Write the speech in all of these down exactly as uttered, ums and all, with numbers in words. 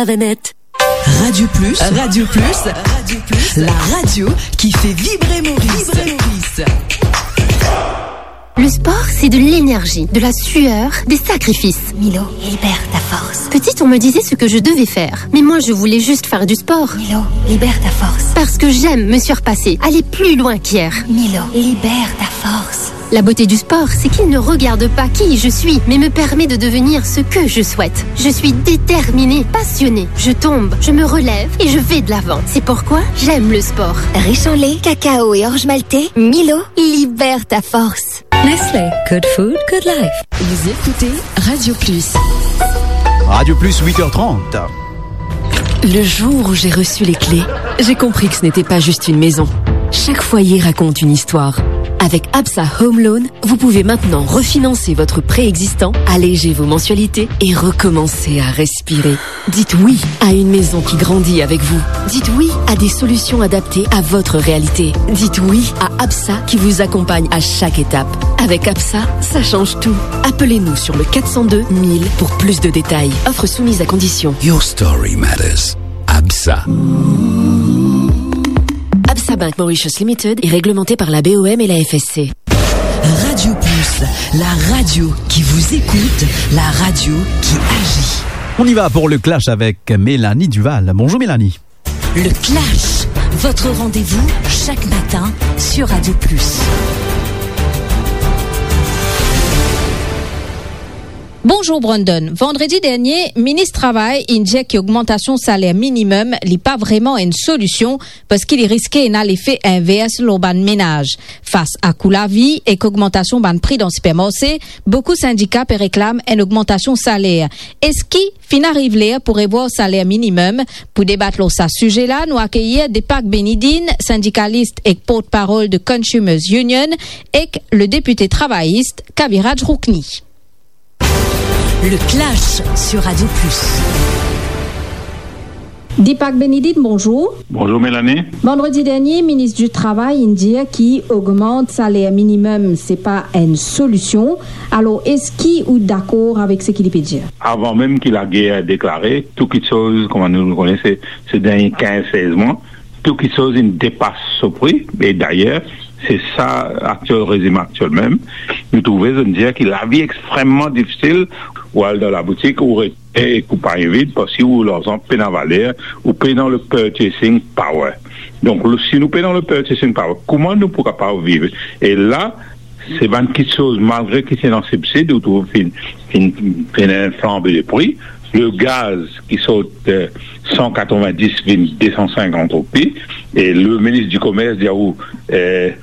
Avec net. Radio Plus. Radio Plus. Radio Plus. La radio qui fait vibrer Maurice. Vibrer Maurice. Le sport, c'est de l'énergie, de la sueur, des sacrifices. Milo, libère ta force. Petite, on me disait ce que je devais faire. Mais moi, je voulais juste faire du sport. Milo, libère ta force. Parce que j'aime me surpasser, aller plus loin qu'hier. Milo, libère ta force. La beauté du sport, c'est qu'il ne regarde pas qui je suis, mais me permet de devenir ce que je souhaite. Je suis déterminée, passionnée. Je tombe, je me relève et je vais de l'avant. C'est pourquoi j'aime le sport. Riche en lait, cacao et orge maltée, Milo, libère ta force. Nestlé, good food, good life. Vous écoutez Radio Plus. Radio Plus, huit heures trente. Le jour où j'ai reçu les clés, j'ai compris que ce n'était pas juste une maison. Chaque foyer raconte une histoire. Avec ABSA Home Loan, vous pouvez maintenant refinancer votre prêt existant, alléger vos mensualités et recommencer à respirer. Dites oui à une maison qui grandit avec vous. Dites oui à des solutions adaptées à votre réalité. Dites oui à ABSA qui vous accompagne à chaque étape. Avec ABSA, ça change tout. Appelez-nous sur le quatre cent deux mille pour plus de détails. Offre soumise à condition. Your story matters. ABSA. ABSA Bank Mauritius Limited est réglementé par la B O M et la F S C. Radio Plus, la radio qui vous écoute, la radio qui agit. On y va pour le clash avec Mélanie Duval. Bonjour Mélanie. Le Clash, votre rendez-vous chaque matin sur Radio Plus. Bonzour Brandon. Vandredi dernie, minis travay inn dir ki ogmantasion saler minimem li pa vreman enn solision, parski li riske ena lefe invers lor bann menaz. Fas a kou lavi ek ogmantasion bann pri dan sipermarse, boukou sindika pe reklam enn ogmantasion saler. Eski finn ariv ler pou revwar saler minimem? Pou debat lor sa size la, nou akeyir Deepak Benidin, sindikalis ek portparol de Consumers Union, ek le depite travayis Kaviraj Rukni. Le Clash sur Radio Plus. Deepak Benidin, bonzour. Bonzour Mélanie. Vandredi dernie, minis di travay inn dir ki ogmant saler minimem, se pa enn solision. Alor, eski ou dakor avek seki li pe dir? Avan mem ki lager deklare, tou kitsoz, kouma nou kone, se, se dernie kinz sez mwa, tou kitsoz inn depas so pri, e dayer, se sa aktiel rezim aktiel mem. Nou trouve, zot inn dir ki lavi extrememan difisil, ou al dan laboutik, ou rete ek ou panye vid, parski ou larzan pena valer, ou pena le purchasing power. Donk, le, si nou pena le purchasing power, kouma nou pou kapav viv? E la, se bann kitsoz, malgre ki ti ena sibsid, ou trouve finn, finn, finn ena flanbe de pri, le gaz ki sort, eh, san katrovin-dis vinn de san sinkant roupi, e le minis di Komers dir ou, eh,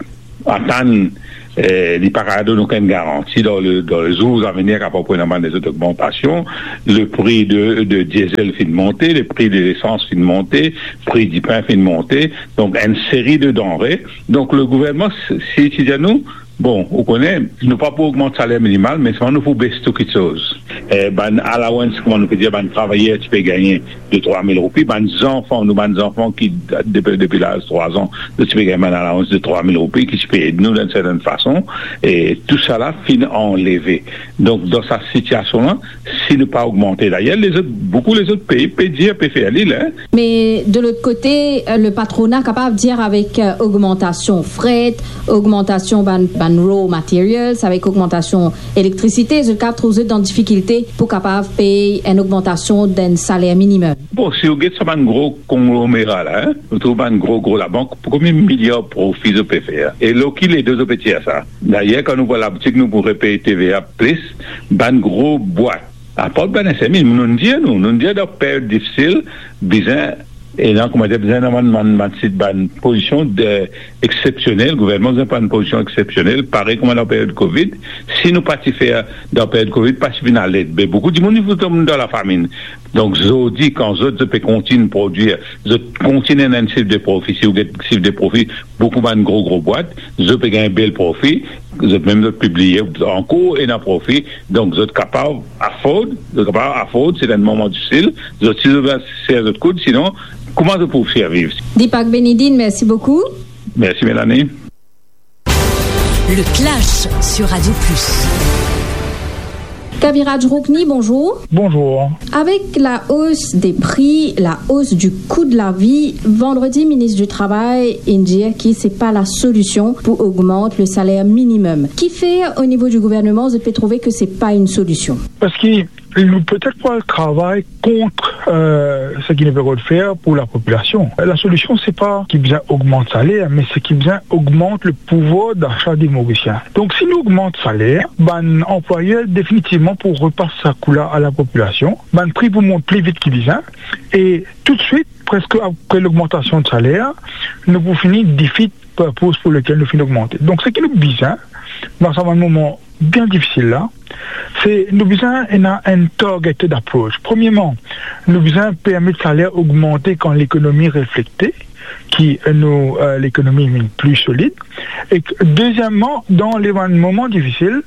atann, eh, li pa kapav donn okenn garanti dan le, dan le zour avenir kapav pou ena bann lezot ogmantasion. Le pri de, de diesel finn monte, le pri de lesans finn monte, pri dipin finn monte, donk enn seri de danre. Donk le gouvernman, si, si dir nou, bon, ou kone, nou pa pou ogmant saler minimal, me selman nou pou bes tou kitsoz. Eh, bann allowance, kouma nou pe dir, bann travayer ti pe gagne de trwa mil roupi, bann zanfan, nou bann zanfan ki, depi, depi laz trwa an, nou ti pe gagn bann allowance de trwa mil roupi, ki ti pe ed nou dan enn sertenn fason, e tou sa la finn anleve. Donk, dan sa sitiasion la, si nou pa ogmante, dayer, lezot, boukou lezot pei pe dir, pe fer li la, hein. Me de lot kote, le patrona kapav dir avek, euh, ogmantasion fret, ogmantasion bann, bann raw materials, avek ogmantasion elektrisite, zot kapav trouv zot dan difikilte pou kapav pey enn ogmantasion dan saler minimem. Bon, si ou get sa bann gro konglomera la, hein, ou trouv bann gro, gro labank, pou konbien miliar profi zot pe fer? E lor ki lede zot pe tir sa? Dayer, kan nou pou al laboutik, nou pou repey T V A plis, bann gro bwat. Apar bann S M E, nou dir nou, nou dir dan period difisil, bizin, e la, kouma dir, bizin ena bann, bann, bann sit, bann pozision de, eksepsionel, gouvernman bizin pran enn pozision eksepsionel, parey kouma dan period Covid. Si nou pa ti fer dan period Covid, pa ti finn al ed, be boukou dimoun, li pou tom dan lafaminn. Donk, zordi, kan zot, zot pe kontign prodwir, zot kontign ena enn sif de profi, si ou get sif de profi, boukou bann gro, gro bwat, zot pe gagn bel profi, zot mem zot pibliye, ankor ena profi, donk zot kapav afford, zot kapav afford, se dan enn moman difisil, zot, si zot bizin ser zot koud, sinon, kouma zot pou serviv? Deepak Benidin, mersi boukou. Mersi, Mélanie. Le Clash sur Radio Plus. Kaviraj Rukni, bonzour. Bonzour. Avek la os de pri, la os di kou de lavi, vandredi, minis di Travay inn dir ki se pa la solision pou ogmant le saler minimem. Kifer, o nivo di gouvernman, zot pe trouve ke se pa enn solision? Parski nou petet pou al travay kont, euh, seki nou pe rod fer pou lapopilasion. La solision, se pa ki bizin ogmant saler, me se ki bizin ogmant le pouvwar dasa de Morisien. Donk, si nou ogmant saler, bann anplwayer definitivman pou repas sa kou la a lapopilasion, bann pri pou mont pli vit ki bizin, e toutswit, preske apre logmantasion de saler, nou pou fini defeat purpose pou lekel nou finn ogmante. Donk, seki nou bizin, dan sa bann moman bien difisil la, se nou bizin ena enn targeted approach. Premierman, nou bizin permet saler ogmante kan lekonomi reflekte, ki nou, euh, lekonomi vinn pli solid. E deziemman, dan le bann moman difisil,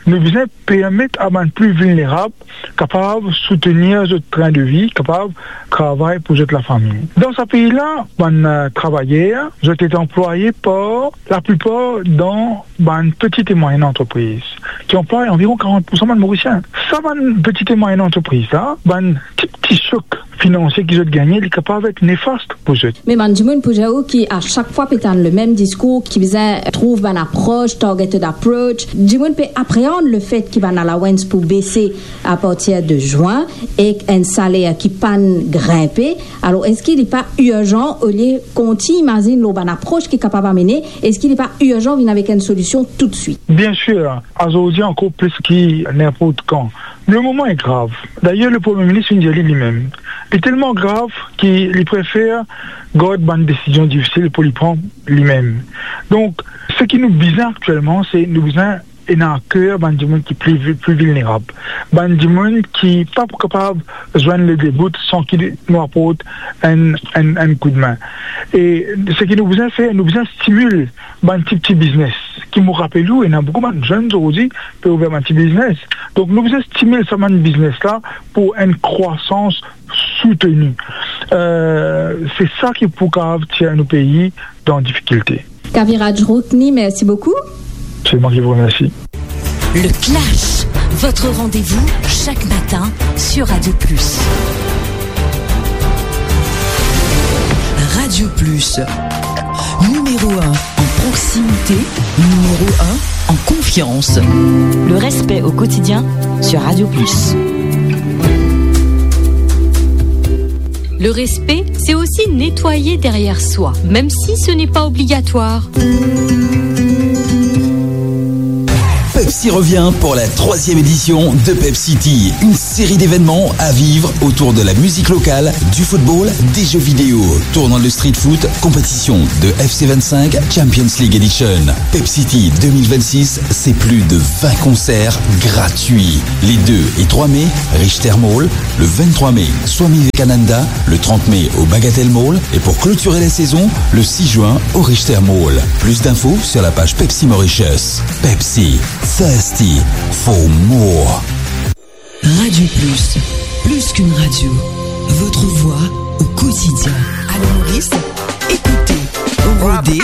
nou bizin permet a bann pli vilnerab kapav soutenir zot trin de vi, kapav travay pou zot lafami. Dan sa pei la, bann, euh, travayer, zot ete anplwaye par laplipar dan bann petite e mwayenne antrepriz, ki anplway anviron karant poursan bann Morisien. Sa bann petite e mwayenne antrepriz la, bann ti, ti sok finansie ki zot gagne, li kapav et nefast pou zot. Me bann dimoun pou dir ou ki a sak fwa pe tann le mem diskour, ki bizin trouv bann apros, targeted approach, dimoun pe apreand lefet ki bann allowance pou bese apartir de zwin ek enn saler ki pa'nn grinpe. Alor, eski li pa irzan, olie kontign imazinn lor bann apros ki kapav amene, eski li pa irzan vinn avek enn solision toutswit? Biensir, azordi ankor plis ki ninport kan. Le moman li grav. Dayer, le Premie Minis inn dir li limem. Li telman grav ki li prefer gard bann desizion difisil pou li pran limem. Donk, seki nou bizin aktielman, se nou bizin ena aker bann dimoun ki pli vi-, pli vilnerab, bann dimoun ki pa pou kapav zwenn le debout san ki nou aport enn, enn, enn koudme. E seki nou bizin fer, nou bizin stimil bann ti, ti biznes. Ki mo rapel ou, ena boukou bann zenn zordi pe ouver bann ti biznes. Donk, nou bizin stimil sa bann biznes la pou enn krwasans souteni. Euh, se sa ki pou kapav tir nou pei dan difikilte. Kaviraj Rukni, merci beaucoup. C'est moi qui vous remercie. Le Clash, votre rendez-vous chaque matin sur Radio Plus. Radio Plus, numéro un en proximité, numéro un en confiance. Le respect au quotidien sur Radio Plus. Le respect, c'est aussi nettoyer derrière soi, même si ce n'est pas obligatoire. Pepsi revient pour la troisième édition de Pepsi City, une série d'événements à vivre autour de la musique locale, du football, des jeux vidéo, tournoi de street foot, compétition de F C vingt-cinq, Champions League Edition. Pepsi City deux mille vingt-six, c'est plus de vingt concerts gratuits. Les deux et trois mai, Richter Mall, le vingt-trois mai, Swami Vivekananda, le trente mai au Bagatelle Mall et pour clôturer la saison, le six juin au Richter Mall. Plus d'infos sur la page Pepsi Mauritius. Pepsi, thirsty for more. Radio Plus, plus qu'une radio, votre voix au quotidien. Allô Maurice, écoutez, rodez,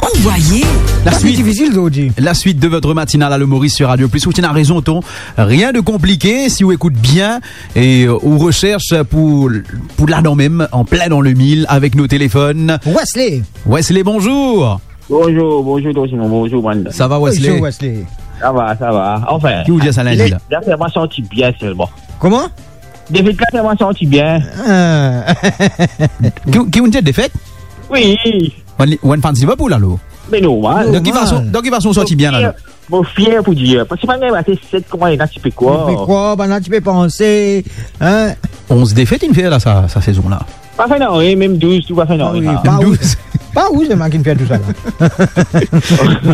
envoyez. La suite, difisil, Dodi. La suite de votre matinale Allô Maurice sur Radio Plus. Ou ti ena rezon, Ton. Rien de compliqué, si ou ekout bien e, euh, ou recherche pou, pou ladan mem, en plein dans le mille, avec nos téléphones. Wesley. Wesley, bonjour. Bonjour, bonjour, Ton Simon, bonjour, Brandon. Ça va, Wesley ? Bonjour, Wesley. Ça va, ça va. Enfin, ki ou dir sa lindi la ? Defet la fer mwa santi bien selman. Kouma ? Defet la fer mwa santi bien. Ah. Ki, ki ou dir defet ? Wi. Ou enn, ou enn fan Liverpool, alor ? Me normal. Normal. Dan ki fason, dan ki fason ou santi bien la, alor ? Mo fier pou dir, parski bann la ti pe krwar. Ti pe krwar, bann la ti pe panse, hein ? Onz defet inn fer la, sa, sa sezon la. Pa fer nanye, mem douz, tou pa fer nanye. Ah wi, pa ou, pa ou, se mwa ki fer tou sa la.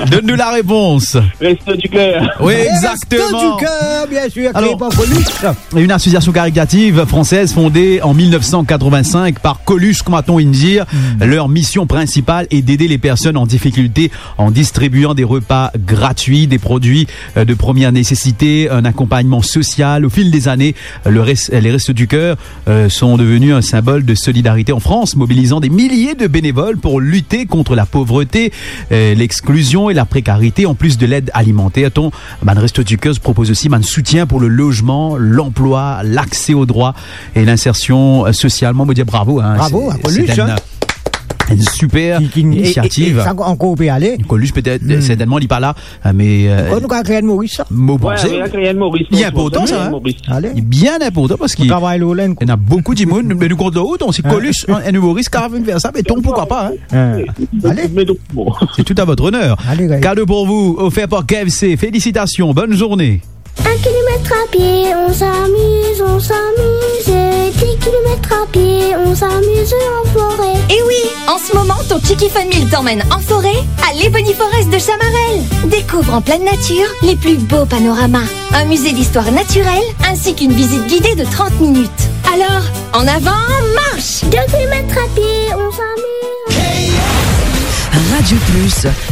Donn nou la repons. Resto du Cœur. Wi, exactement. Resto du Cœur, bien sûr, créé par Coluche. Une association caritative française fondée en mille neuf cent quatre-vingt-cinq par Coluche, kouma Ton inn dir. Hmm. Leur mission principale est d'aider les personnes en difficulté en distribuant des repas gratuits, des produits, euh, de première nécessité, un accompagnement social. Au fil des années, le res-, les Restos du Cœur, euh, sont devenus un symbole de Solidarité en France, mobilisant des milliers de bénévoles pour lutter contre la pauvreté, euh, l'exclusion et la précarité, en plus de l'aide alimentaire. Ton bann Restos du Cœur propose aussi bann soutien pour le logement, l'emploi, l'accès aux droits et l'insertion, euh, sociale. Mwa, mo dir bravo, hein. Bravo, c'est, c'est une, hein, une super initiative. Ki, ki, e, e, e sa ankor pe ale. Coluche, peut-être, certainement, li pa la, euh, mais, euh, nou kapav kreye enn Moris, sa. Mo panse, wi, kreye enn Moris, li inportan, sa, hein. Moris. Ale. Li bien inportan parski nou travay lor la, ena boukou dimoun, me nou kont lor ou, donk si Coluche, enn, enn Moris kapav fer sa, me ton, pourquoi pas, hein. Hein. Ale. C'est tout à votre honneur. Ale, ale. Cadeau pour vous, offert par K F C. Félicitations, bonne journée. Un kilomètre à pied, on s'amuse, on s'amuse. Dix kilomètres à pied, on s'amuse en forêt. Eh oui, en ce moment, ton Tiki Fun Meal t'emmène en forêt, à l'Ebony Forest de Chamarel. Découvre en pleine nature les plus beaux panoramas, un musée d'histoire naturelle ainsi qu'une visite guidée de trente minutes. Alors, en avant, marche ! Deux kilomètres à pied, on s'amuse. Radio Plus,